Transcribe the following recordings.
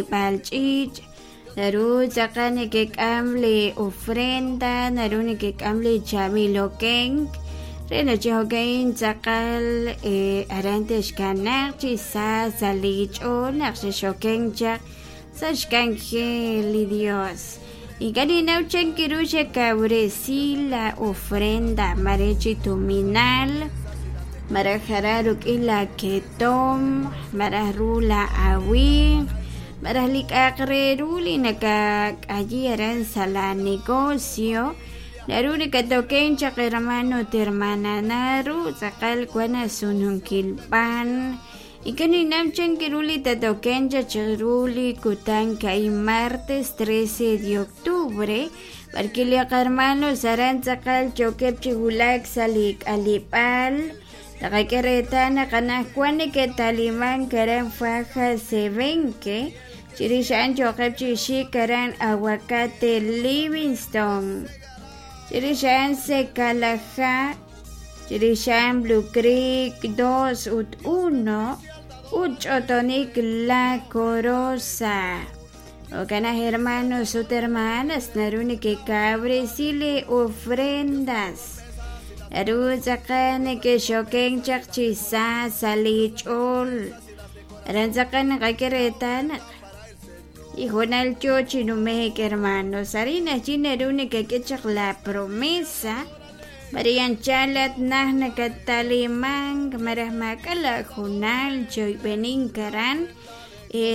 B'eleb'aal ch'iich', naru tz'aqal nekek'am li ofrenda, naru nekek'am li chaab'il okenk re naq chi jo'ka'in tz'aqal aran texkanaaq chi sa sa' li ch'ool naq xexokenk chaq sa' xk'anjel li Dios. Ink'a' ninnaw chan ru xekawresi la ofrenda, mare chi tuminal, maraj aran rik'in la ketomq, maraj ru la awimq, maraj li k'a'aq re ru li nakak'ayi aran sa' la negocio. Naru nakatoken chaq hermano ut hermana, naru tz'aqal wan asununkil b'an. Ink'a' ninnaw chan ru li tatoken chaq chiru li kutan ka'in martes 13 de octubre, b'arwi' li qahermanos aran tz'aqal yookeb' chi wulak sa' li k'aleb'aal. Taqak'e reetal naq anaqwan neke'talimank aran Faja Sevenque, chirix a'an yooqeb' chi xik aran Aguacate Livingston, chirix a'an Secalajá, Chirix a'an Blue Creek 2 ut 1 ut ch'otonik La Corosa. Jo'kan naq hermanos ut hermanas naru nekekawresi li ofrendas. Naru tz'aqal nekexokenk chaq chi sa sa' li ch'ool. Aran tz'aqal naqak'e reetal naq li hoonal yoo chi nume'k hermanos. Arin ajwi' naru nekek'e chaq la promesa. Mare anchal at naj nakat'alimank malaj maak'a' laahoonal chi oyb'enink aran,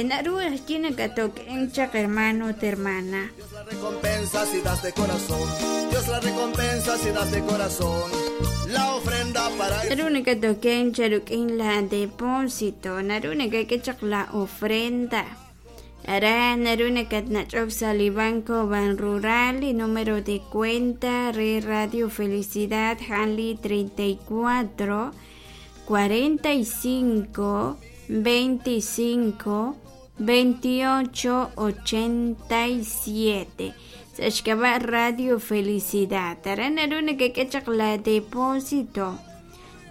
naru ajwi' nakat'okenk chaq hermano ut hermana. Dios la recompensa si das de corazón. Dios la recompensa si das de corazón. La ofrenda para Naru nakat'okenk chaq rik'in la depósito, naru nakak'e chaq la ofrenda. Aran naru nakatnach'ok sa' li Banco Banrural, li número de cuenta re Radio Felicidad a'an li 34 45 25 28 87 sa' xk'ab'a' Radio Felicidad. Aran naru nakak'e chaq la depósito.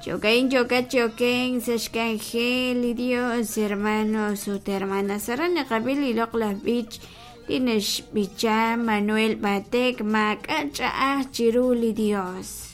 Jo'ka'in yookat chi okenk sa' xk'anjel li Dios, hermanos ut hermanas. Aran naqab'i li loq'laj b'ich li naxb'icha Manuel Batek, Maak'a' ch'a'aj chiru li Dios.